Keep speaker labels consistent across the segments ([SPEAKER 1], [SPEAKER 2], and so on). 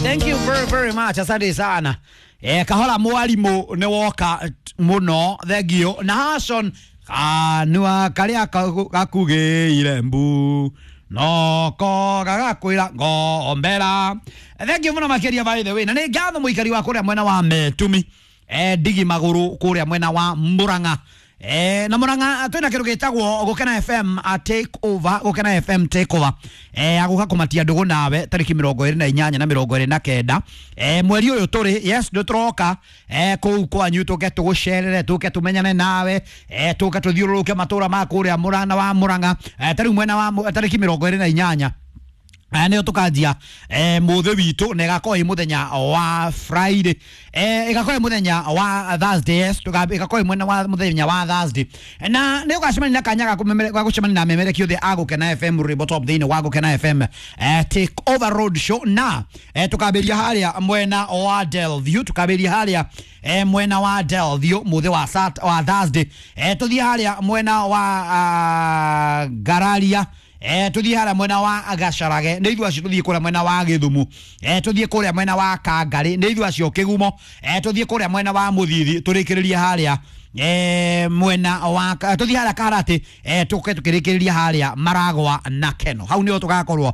[SPEAKER 1] Thank you very very much. Asante sana. Kahola mwalimu nĩ woka mũno, thengio. Na Hason kanua karĩa gakugĩire mbu noko gagakwĩra ngombera. Thengio mũno makĩria by the way. Na nĩ ngatho mũikari wa kũrĩa mwena wa Metumi, ndigi magũrũ kũrĩa mwena wa Murang'a. Na Murang'a twina kindu gitagwo Gukena FM a take over, Gukena FM take over, aguka kumatia ndugu nawe tariki 28 na 29 mweri uyu turi. Yes, ndu turoka kuu kwanyu tuke tugucerere, tuke tumenyane nawe, tuke tuthiururuke matura ma kuria Murang'a wa Murang'a. Tariu mwena wa tariki 28 nĩyo tũkanjia mũthĩ witũ, na ĩgakorwo ĩ mũthenya wa Friday, ĩgakorwo ĩ mũthenya wa Thursday. Yes, ĩgakorwo ĩ mwena wa mũthenya wa Thursday, na nĩ ũgacemania na kanya ga gũcemania na memereki othe a Gũkena FM Rwĩmbo Top thĩinĩ wa Gũkena FM Take Over Road Show. Na tũkambĩria harĩa mwena wa Delview, tũkambĩria harĩa mwena wa Delview mũthĩ wa wa Thursday, tũthiĩ harĩa mwena wa Gararia, tuthiĩ harĩa mwena wa Gacarage, nĩ ithuĩ acio tuthiĩ kũrĩa mwena wa Gĩthumu, tuthiĩ kũrĩa mwena wa Kangarĩ, nĩ ithuĩ acio Kĩgumo, tuthiĩ kũrĩa mwena wa Mũthithi, tũrĩkĩrĩrie harĩa mwena wa tuthiĩ harĩa Karati, tũke tũkĩrĩkĩrĩria harĩa Maragwa na Keno. Hau nĩho tũgakorwo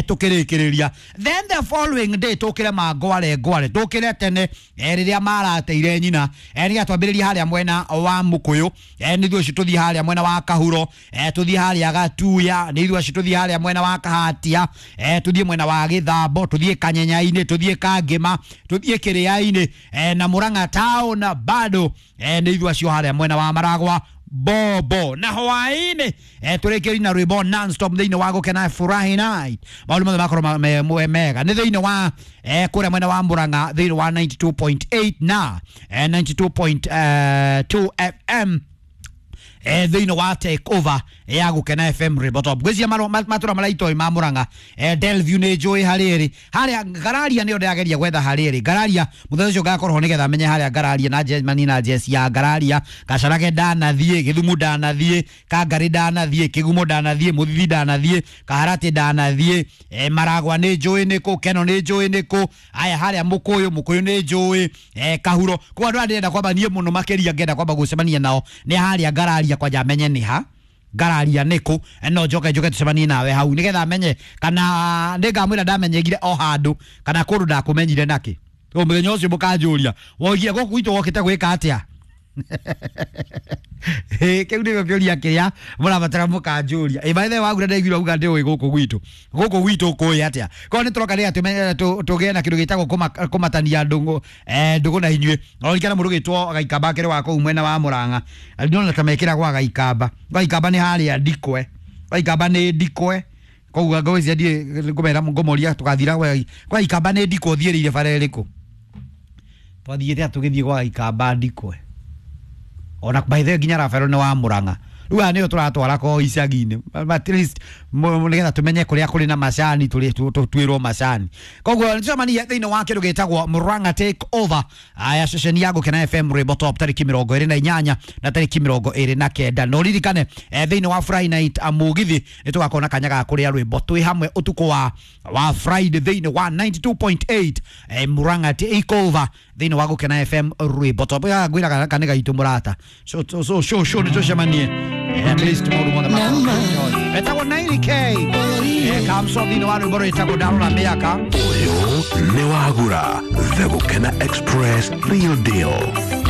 [SPEAKER 1] tũkĩrĩkĩrĩria. Then the following day tũkĩre mangware ngware, tũkĩre tene rĩrĩa marateire nyina, nĩgetha twambĩrĩrie harĩa mwena wa Mũkũyũ, nĩ ithuĩ acio tũthiĩ harĩa mwena wa Kahuro, tũthiĩ harĩa Gatuya, nĩ ithuĩ acio tũthiĩ harĩa mwena wa Kahatia, tũthiĩ mwena wa Gĩthambo, tũthiĩ Kanyenya-inĩ, tũthiĩ Kangĩma, tũthiĩ Kĩrĩa-inĩ, na Murang'a town bado, nĩ ithuĩ acio harĩa mwena wa Maragwa bobo. Na hwaĩ-inĩ tũrĩkĩrĩrie na rwĩmbo non-stop thĩinĩ wa Gũkena Furahi Night. Maũndũ mothe makorwo mega nĩ thĩinĩ wa kũrĩa mwena wa Murang'a thĩinĩ wa 92.8 na 92.2 FM thĩinĩ wa take over ya Gũkena FM Rwĩmbo Top. Ngwĩciria matũra marĩa itoi ma Murang'a, Delview nĩ njũĩ harĩa ĩrĩ, harĩa Gararia nĩyo ndĩrageria gwetha harĩa ĩrĩ Gararia. Mũthenya ũcio ngakorwo ho nĩgetha menye harĩa Gararia na Germany na jesi ya Gararia. Gacarage ndanathiĩ, Gĩthumu ndanathiĩ, Kangarĩ ndanathiĩ, Kĩgumo ndanathiĩ, Mũthithi ndanathiĩ, Kaharatĩ ndanathiĩ, Maragwa nĩ njũĩ nĩkũ, Keno nĩ njũĩ nĩkũ, aya harĩa Mũkũyũ, Mũkũyũ nĩ njũĩ, Kahuro. Kwa andũ arĩa ndĩrenda kwamba niĩ mũno makĩria ngenda kwamba gũcemania nao nĩ harĩa Gararia, kwanja menye nĩ ha Gararia nĩkũ, no njoke njoke tucemanie nawe hau nĩgetha menye kana nĩngamwĩra ndamenyegire o handũ kana kũndũ ndakũmenyire nakĩ. Mũthenya ũcio mũkanjũria woigire gũkũ gwitũ wokĩte gwĩka atĩa? Kĩu nĩkĩo kĩũria kĩrĩa mũrabatara mũkanjũria. By the way, wagura ndaiguire auga ndĩũĩ gũkũ gwitũ, gũkũ gwitũ kũĩ atĩa? Korwo nĩ tũroka nĩgetha tũgĩe na kĩndũ gĩtagwo kũmatania ndũgũ, ndũgũ na inyuĩ. Oririkana mũndũ ũgĩtwo Gaikamba akĩrĩ wa kũu mwena wa Murang'a, ndĩrona ta mekĩragwo Gaikamba. Gaikamba nĩ harĩa Ndikwe, Gaikamba nĩ Ndikwe. Koguo ngwĩciria ndiĩ ngũmera ngũmoria tũgathira kwa Gaikamba nĩ Ndikwe, ũthiĩrĩire bara ĩrĩkũ? Twathiĩte tũgĩthiĩ kwa Gaikamba Ndikwe. Ona by the way nginya Rafael nĩ wa Murang'a. Rĩu aya nĩo tũratwara ko icagi-inĩ, at least nĩgetha tũmenye kũrĩa kũrĩ na macani, twĩrwo macani. Koguo nĩtũcemanie thĩinĩ wa kĩndũ gĩtagwo Murang'a Take Over ya ceceni ya Gũkena FM Rwĩmbo Top tarĩki 28 na tarĩki 29. Na ũririkane thĩinĩ wa Friday Night Mũgithi nĩ tũgakorwo na kanya ga kũrĩa rwĩmbo twĩ hamwe ũtukũ wa Friday thĩinĩ wa 92.8 Murang'a Take Over thĩinĩ wa Gũkena FM Rwĩmbo Top. Ngwĩraga kanitha gaitũ mũrata, so so so so nĩ tũcemanie at least maũndũ mothe makorwo. Etagwo 90K kamso thĩinĩ wa rwĩmbo rwĩtagwo Ndarora Mĩaka.
[SPEAKER 2] Ũyũ nĩ wagura The Gũkena Express Real Deal.